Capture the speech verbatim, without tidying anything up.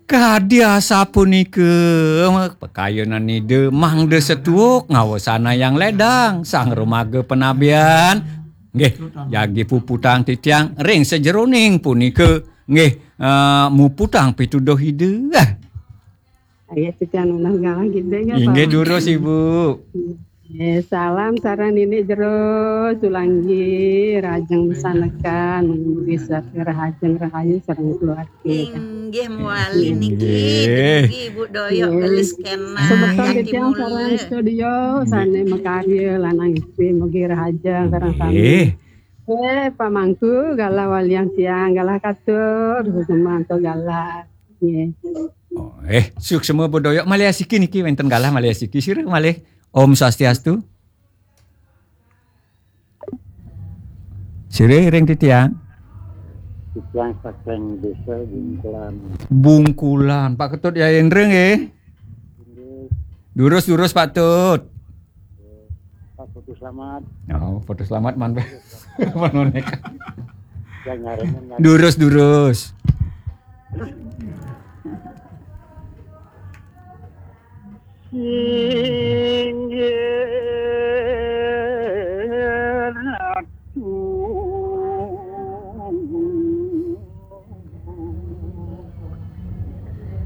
Kadi asapunika, pakayunan Ida mangda setuhuk ngawasanayang ledang, sang rumaga panabian. Nggih, jagi puputang titiang ring sajeroning punika. Nggih, eh, muputang pituduh Ida. Ayo, titiang nunas galah gede, nggih, inggih, Pak. Durus, Ibu. Eh, salam sareng Nini Jero, Sulanggi, Rajeng Sanekan, bisa Rahajeng Rahayu sareng keluarga. Inggih, mawali niki, inggih. Dumugi Ibu Doyok, inggih. Gelis kena, semeton yang titiang sareng timur. Studio, inggih. Sane makarya, lanang istri, mugi rahajeng sareng sami. Inggih. Eh, pamangku, galah walian tiang, galah katur, semanto galah. Nggih. Oh, eh, suksma Bu Doyok, malih asiki niki, wenten galah malih asiki. Sira malih. Om Swastiastu. Sira ring titiang. Titiang saking Desa Bungkulan. Bungkulan. Pak Ketut Yayendra nggih. Inggih. Durus, durus, Pak Tut. Pak Putu Selamat. Oh, Putu Selamat man. Man, man. Yang nyarinya nyari. Durus, durus.